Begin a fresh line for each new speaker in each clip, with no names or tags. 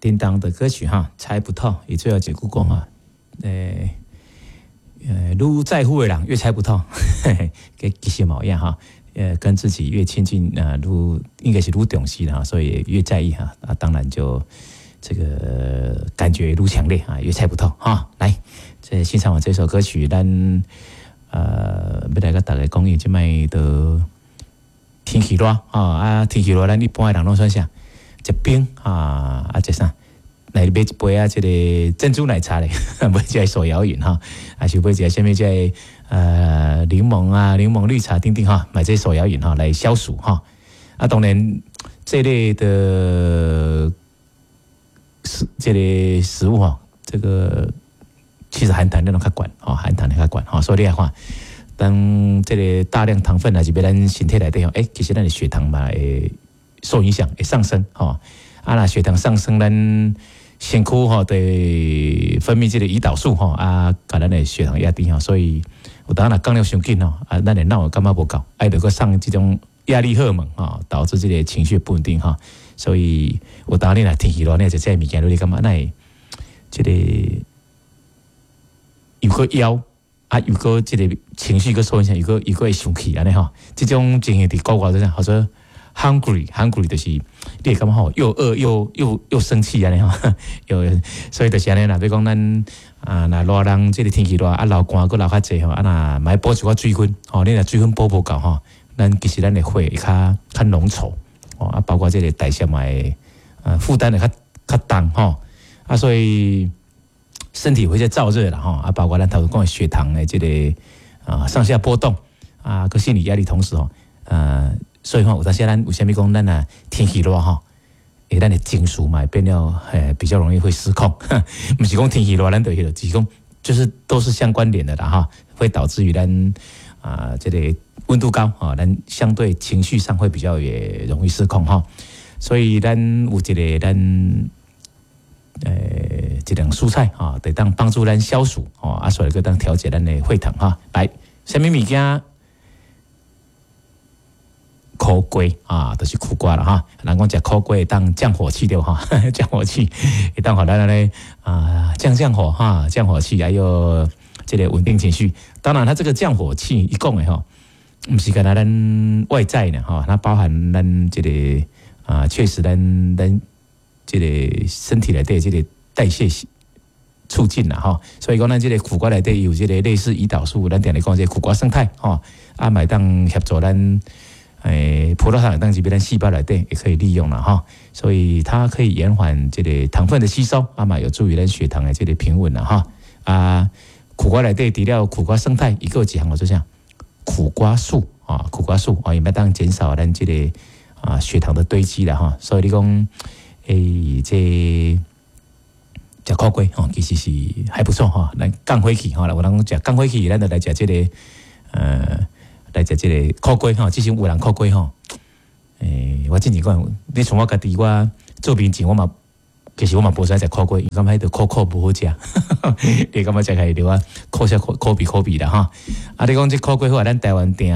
叮當的歌曲哈，猜不透，伊最後一句講哈，愈在乎的人越猜不透，其實嘛一樣哈，跟自己越親近啊，愈應該是愈重視啦，所以越在意哈，啊，當然就這個感覺愈強烈啊，越猜不透哈。來，這欣賞完這首歌曲，咱欲來共大家講，伊這擺都天氣熱啊，啊天氣熱，咱一般的人攏創啥？食冰啊，啊食啥？來買一杯啊，這個珍珠奶茶咧，買一個手搖飲哈，還是買一个啥物這个檸檬啊、檸檬綠茶等等哈，買這手搖飲哈來消暑哈。啊，當然這類的這類食物哈，這個其實含糖量攏較懸，吼，含糖量較懸吼，所以你來看，當這個大量糖分若是欲咱身體內底吼，欸，其實咱的血糖嘛會受影響，會上升吼。啊，若血糖上升，咱身軀吼會分泌這個胰島素吼，啊，共咱的血糖壓低吼，所以有當若降了傷緊吼，啊，咱的腦會感覺無夠，愛著閣送這種壓力荷爾蒙吼，導致這個情緒不穩定吼，所以有當你若天氣熱，你食這个物件，你感覺哪會這個又閣枵啊，又閣這個情緒閣受影響，又閣會生氣按呢吼，這種情形佇國外就是叫做 hungry，hungry 就是你會感覺吼又餓又生氣按呢吼，又所以就是按呢啦。比如講咱啊，若熱人這个天氣熱啊，流汗閣流較濟吼，啊若嘛愛補一寡水分吼，你若水分補無夠吼，咱其實咱的血會較濃稠哦，啊，包括這个代謝嘛會負擔會較重吼，啊，所以身體會在燥熱啦吼，啊，包括咱頭拄講的血糖的這个啊上下波動啊，閣心理壓力同時吼，所以講有當時咱為啥物講咱若天氣熱吼，欸，咱的情緒嘛會變了，欸，比較容易會失控，毋是講天氣熱咱就彼囉，只是講就是都是相關聯的啦哈，會導致於咱啊這个溫度高啊，咱相對情緒上會比較也容易失控哈，所以咱有一个咱一種蔬菜哈，會當幫助咱消暑吼，啊，所以閣當調節咱的血糖哈。來，啥物物件？苦瓜啊，就是苦瓜啦哈。人講食苦瓜會當降火氣對哈，降火氣會當予咱按呢啊降降火哈，降火氣，還有這个穩定情緒。當然，它這個降火氣伊講的吼，毋是干焦咱外在的吼，它包含咱這个啊，確實咱這個身體內底這個代謝促進啦吼。所以講咱這个苦瓜內底有這個類似胰島素，咱定咧講這个苦瓜勝肽吼，啊，嘛會當協助咱。欸，葡萄糖當入咱細胞內底也可以利用啦哈，所以它可以延緩這个糖分的吸收，啊嘛有助於咱血糖的這个平穩啦哈。啊，苦瓜內底除了苦瓜勝肽，伊閣有一項叫做啥？苦瓜素啊，苦瓜素啊，伊嘛當減少咱這个啊血糖的堆積啦哈。所以你講，欸，這食苦瓜吼，其實是還不錯哈。來降火氣吼，有人講食降火氣，咱就來食這个來食這个苦瓜吼，之前有人苦瓜吼，欸，我之前講，你像我家己，我做面前我嘛，其實我嘛無啥食苦瓜，因為感覺彼个苦苦無好食，你感覺食起來就啊苦澀苦苦味苦味啦哈。啊，你講這苦瓜好，咱台灣定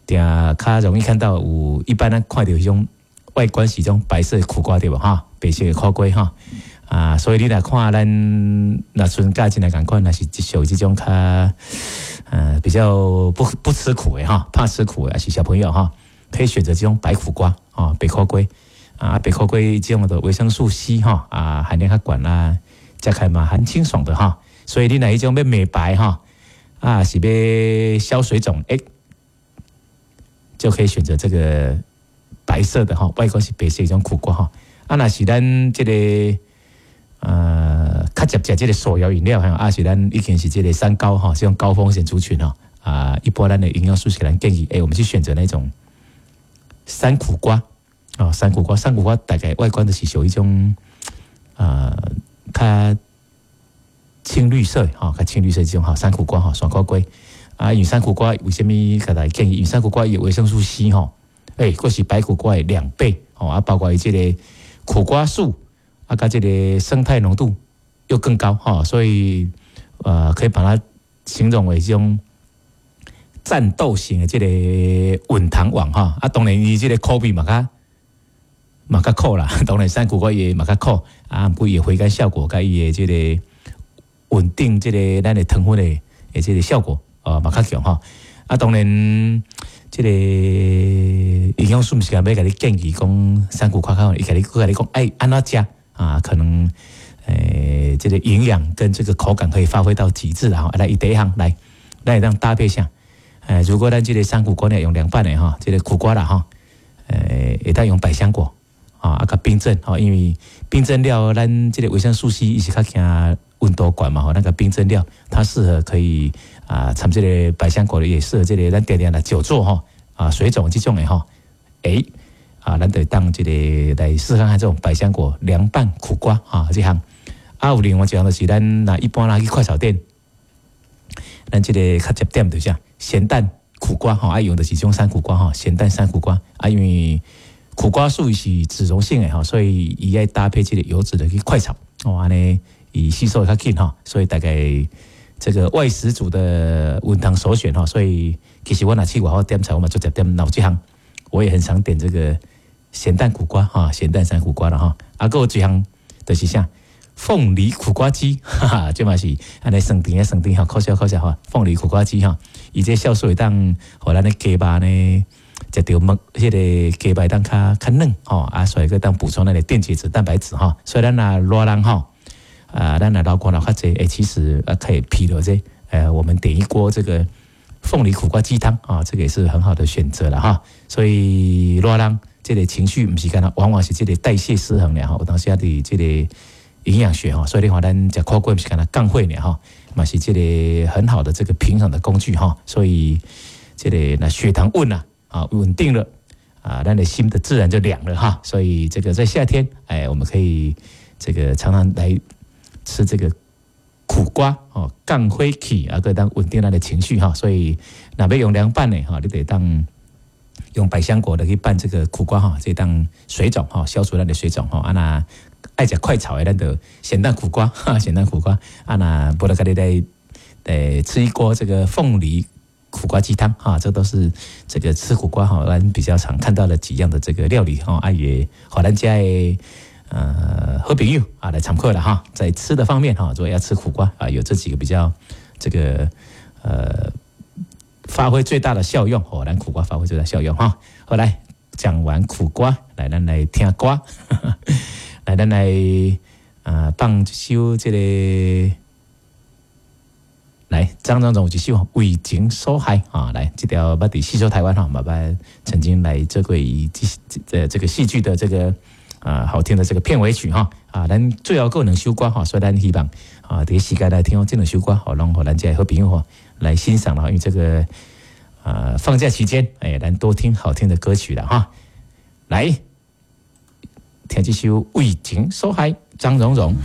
定較容易看到有，一般咱看著彼種外觀是種白色的苦瓜對無哈？白色的苦瓜哈。啊，所以你若看咱若賰價錢來仝款，若是屬於這種較比較不吃苦的哈，怕吃苦的，還是小朋友哈，可以選擇這種白苦瓜啊，白苦瓜啊，白苦瓜這種的維生素 C 哈啊，含量較懸啦，食起來嘛很清爽的哈。所以你若彼種欲美白哈啊，是欲消水腫，欸，就可以選擇這個白色的哈，外觀是白色一種苦瓜哈。啊，若是咱這個較捷食這个手搖飲料，啊是咱已經是這个三高哈，這種高風險族群哈，啊，一般咱的營養師給咱建議，欸，我們去選擇那種山苦瓜啊，山苦瓜，山苦瓜大概外觀就是屬於一種啊，較青綠色哈，較青綠色這種哈，山苦瓜哈，山苦瓜啊，因為山苦瓜為啥物共大家建議？因為山苦瓜有維生素 C 吼，欸，閣是白苦瓜的2倍哦，啊，包括伊這个苦瓜素。啊，佮這个勝肽濃度又更高哈，所以可以把它形容為這種戰鬥型的這个穩糖王哈。啊，當然伊這个苦味嘛較嘛較苦啦，當然山苦瓜也嘛較苦啊，毋過伊回甘效果佮伊的這個穩定這個咱的糖分的這個效果哦嘛較強吼。啊，當然這個營養師毋是講欲共你建議講山苦瓜較好，伊共你佮你講，哎，按怎食啊？可能這個營養跟這個口感可以發揮到極致啦。來，伊第一項來，咱會當搭配啥？如果咱這個山苦瓜呢用涼拌的吼，這個苦瓜啦吼，會當用百香果。啊，佮冰鎮吼，因為冰鎮了，咱這個維生素 C 伊是較驚溫度懸嘛吼，那個冰鎮了，它適合可以啊，摻這個百香果也適合這個咱定定來久坐吼，啊，水腫這種的吼，啊，咱就當這個來試看看這種百香果涼拌苦瓜啊，這項啊，有另外一項就是咱若一般啦去快炒店，咱這個較捷點就是啥，鹹蛋苦瓜吼，愛用的是這種山苦瓜吼，鹹蛋山苦瓜啊，因為苦瓜素是脂溶性的吼，所以伊愛搭配這個油脂的去快炒哦，按呢伊吸收會較緊吼，所以大概這個外食族的溫湯首選吼，所以其實我若去外口點菜，我嘛足濟點老這項，我也很常點這個鹹蛋苦瓜哈，鹹蛋山苦瓜啦吼，啊，閣有一項就是啥鳳梨苦瓜雞，哈哈，這嘛是按呢酸甜的酸甜吼，可笑可笑吼，鳳梨苦瓜雞吼，伊這酵素會當予咱的雞肉呢，食著麥，彼個雞肉當較較嫩吼，啊，所以閣當補充咱的電解質、蛋白質吼。所以咱若熱人吼，啊，咱若流汗流較濟，其實啊可以皮落這，我們點一鍋這個鳳梨苦瓜雞湯啊，這個也是很好的選擇了哈。所以熱人這個情緒毋是干焦，往往是這個代謝失衡了吼。有當時啊佇這個營養學吼，所以你看咱食苦瓜毋是干焦降火爾吼，嘛是這個很好的這個平衡的工具哈。所以這個若血糖穩啊。啊，穩定了，啊，咱的心的自然就涼了哈。所以這個在夏天，哎，我們可以這個常常來吃這個苦瓜哦，降火氣啊，閣當穩定咱的情緒哈。所以若欲用涼拌的哈，你得當用百香果的去拌這個苦瓜哈，這當水腫哈，消除咱的水腫哈。啊，若愛食快炒的，咱就鹹蛋苦瓜哈，鹹蛋苦瓜啊，若無就家己來吃一鍋這個鳳梨苦瓜雞湯哈，這都是這個吃苦瓜哈，咱比較常看到的幾樣的這個料理哈。啊也予咱遮的好朋友啊來參考了哈，在吃的方面哈，如果要吃苦瓜啊，有這幾個比較這個發揮最大的效用哦，咱苦瓜發揮最大效用哈。好來講完苦瓜，來咱來聽歌，來咱來放一首這個。來，張榮榮有一首《為情所害》啊，來這條捌佇戲說台灣哈，嘛捌曾經來做過這這這個戲劇的這個啊好聽的這個片尾曲哈啊，咱最後閣有兩首歌哈，所以咱希望啊，佇時間來聽這兩首歌，好，攏予咱遮的好朋友吼來欣賞啦，因為這個啊放假期間，哎，咱多聽好聽的歌曲啦哈。來，聽這首《為情所害》，張榮榮。